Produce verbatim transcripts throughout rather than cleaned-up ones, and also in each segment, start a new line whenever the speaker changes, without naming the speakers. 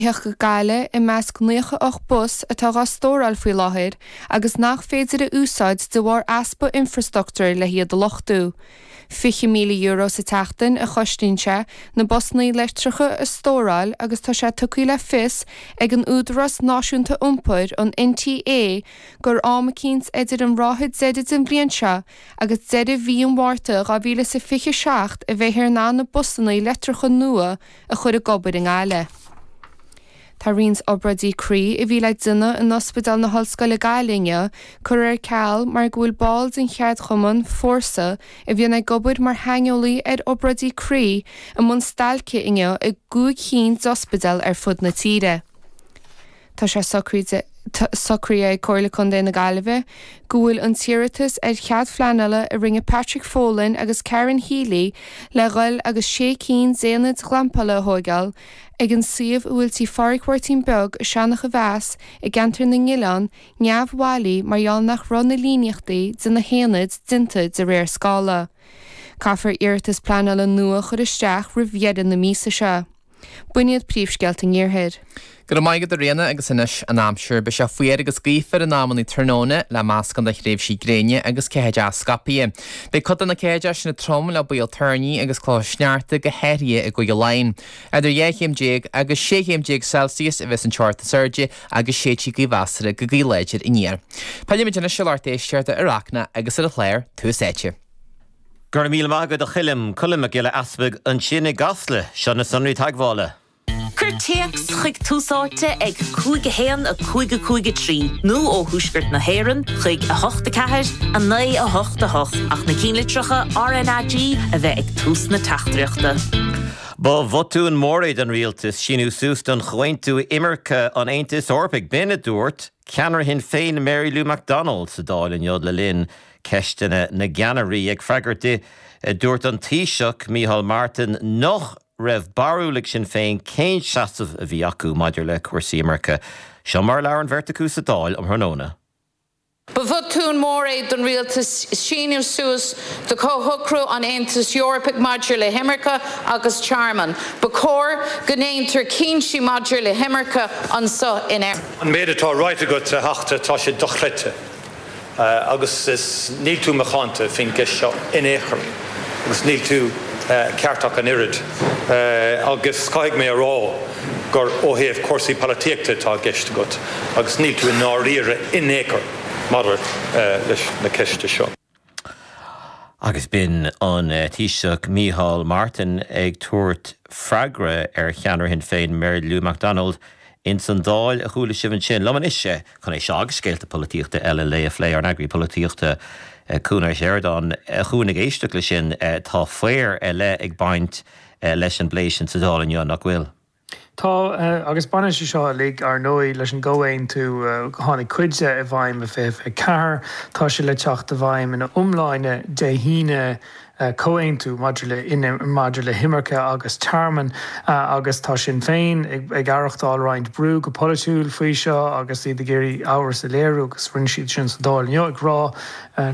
go Gaillimh i measc naocha ocht bus atá á stóráil faoi láthair agus nach féidir a úsáid de bharr easpa infrastruchtúir le hiad a luchtú. Fiche míle euro sa tseachtain a chosnaíonn sé na busanna leictreacha a stóráil agus tá sé tugtha le fios ag an Údarás Náisiúnta Iompair an NTA gur am eicínt idir an ráithe deiridh den bhliain seo agus deireadh mhí an Mhárta dhá mhíle is a fiche seacht a bheifear in ann na busanna leictreacha nua a chur ag obair i nGaillimh. Tá roinnt obráidí croí a bhí le déanamh in Ospidéal na hOllscoile Gaillimh curtha ar ceal mar go bhfuil ball den cheardchumann Fórsa a bhíonn ag obair mar shaineolaí ar obráidí croí i mbun stailce inniu i gcúig cinn d'ospidéal ar fud na tíre. Tá sé socraithe socraithe ag Comhairle Contae na Gaillimhe go bhfuil an t-iarratas ar chead pleanála a rinne Patrick Folan agus Karen Healy le dhul agus sé cinn d'aonaid ghlampála a thógáil ag an suíomh a bhfuil tí Phádraig Mháirtín Beag i Seanach a Mheas i gceantar na nOileán neamhbhailí mar gheall nach raibh na líníochtaí de na haonaid déanta de réir scála. Caithfear iarratas pleanála nua a chur isteach roimh dheireadh na míosa seo. B'in iad príomhscéalta an Iarthair.
Go raibh maith agat a Ríona agus anois an aimsir. Beidh sé fuar agus gaofar in amanna tráthnóna le meascán de thréimhsí gréine agus ceathaideacha scaipthe. Beidh cuid de na ceathaideacha sin trom le baol toirní agus clocha sneachta go háirithe i gCúige Laighean. Idir dhá chéim déag agus sé chéim déag Celsius a bheas an teocht is airde agus séidfidh gaoth mheasartha go gaoth láidir aniar. Pillfimid anois ar lucht éisteachta ar Acna agus ar an chlár Tús Áite.
Go raibh míle maith agat a Choilm, Colm Mac Giolla Easpaig ansin i gCasla, seo na sonraí teagmhála.
Cuir téacs chuig Tús Áite ag cúig a haon a cúig a cúig a trí nó ó Thuaisceart na hÉireann chuig a hocht a ceathair a naoi a hocht a hocht ach na ceannlitreacha RnaG a bheith ag tús na teachtaireachta.
Ba bhotún mór é don rialtas síniú suas don chomhaontú imirce an Aontais Eorpaigh b'in a dúirt ceannaire Shinn Féin Mary Lou McDonald sa Dáil inniu le linn ceisteanna na gceannairí ag freagairt di dúirt an Taoiseach Micheál Martin nach raibh barúil ag Sinn Féin cén seasamh a bhí acu maidir le cúrsaí imirce. Seo mar a labhair an bheirt acu sa Dáil um thráthnóna.
Ba bhotún mór é don rialtas síniú suas do chomhshocrú an Aontais Eorpaigh maidir le himirce agus tearmann. Ba chóir go ndéantar cinntí maidir le himirce anseo in Éirinn.
An méid atá ráite agat a Theachta, tá sé dochreidte. Agus is níl tú macánta faoin gceist seo in aon chor agus níl tú ceart ach an oiread. Agus caithfidh mé a rá gur ó thaobh cúrsaí polaitíochta atá i gceist agat agus níl tú i ndáiríre in aon chor maidir leis na ceiste seo.
Agus b'in an Taoiseach Micheál Martin ag tabhairt freagra ar cheannaire Shinn Féin Mary Lou McDonald ins an Dáil a chuala sibh ansin. Liom anois chun é seo agus scéalta polaitíochta eile le a phlé ár n-eagraí polaitíochta Cuan Ó Seireadáin a Chuain ag éisteacht leis sin tá faobhar ar leith ag baint leis an bplé sin sa Dáil inniu nach bhfuil.
Tá agus baineann sé seo uilig ar ndóigh leis an gcomhaontú tháinig cuid de i bhfeidhm i fiche fiche ceathair, tá sé le teacht i bhfeidhm ina iomláine Dé hAoine comhaontú maidir le maidir le himirce agus tearmann agus tá Sinn Féin ag ag aireachtáil roinnt brú go polaitiúil faoi seo agus iad ag iarraidh amhras a léiriú agus rinne siad sin sa Dáil inniu ag rá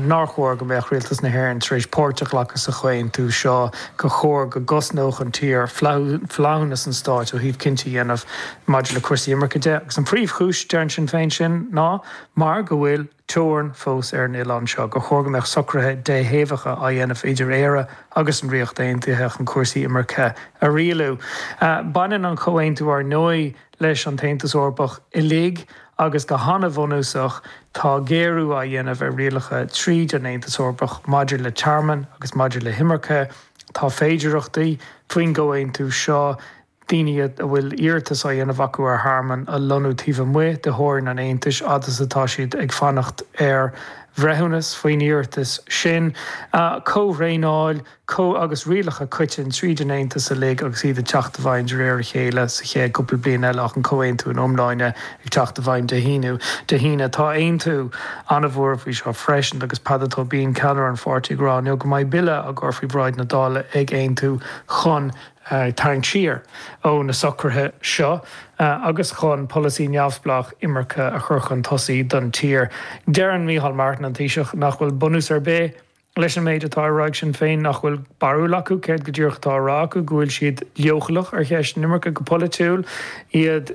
nár chóir go mbeadh rialtas na hÉireann tar éis páirt a ghlacadh sa chomhaontú seo gur chóir go gcosnódh an tír flaithiúnas an stáit ó thaobh cinntí a dhéanamh maidir le cúrsaí imirce de agus an phríomhchúis deireann Sinn Féin sin ná mar go bhfuil teorainn fós ar an oileán seo, gur chóir go mbeadh socruithe déthaobhacha á dhéanamh idir Éire agus an Ríocht Aontaithe chun cúrsaí imirce a rialú. Baineann an comhaontú ar ndóigh leis an tAontas Eorpach uilig agus go han-bhunúsach tá géarú á dhéanamh ar rialacha tríd an Aontas Eorpach maidir le tearmann agus maidir le himirce. Tá féidearthachtaí faoin gcomhaontú seo daoine a bhfuil iarratas á dhéanamh acu ar thearmann a lonnú taobh amuigh de theorainn an Aontais fhad is atá siad ag fanacht ar bhreithiúnas faoin iarratas sin. Comhthraenáil agus rialacha coiteann tríd an Aontas uilig agus iad ag teacht i bhfeidhm de réir a chéile sa chéad cúpla bliain eile ach an comhaontú in iomláine ag teacht i bhfeidhm Dé hAoine. Dé hAoine. Tá Aontú an-bhuartha faoi seo freisin agus Peadar Tóibín, ceannaire an pháirtí, ag rá inniu go mbeidh bille á gcur faoi bhráid na Dála ag Aontú chun tarraingt siar ó na socruithe seo agus chun polasaí neamhspleách imirce a chur chun tosaigh don tír. Deireann Micheál Martin, an Taoiseach, nach bhfuil bunús ar bith leis an méid atá á rá ag Sinn Féin nach bhfuil barúil acu céard go díreach atá á rá acu, go bhfuil siad leochaileach ar cheist na imirce go polaitiúil, iad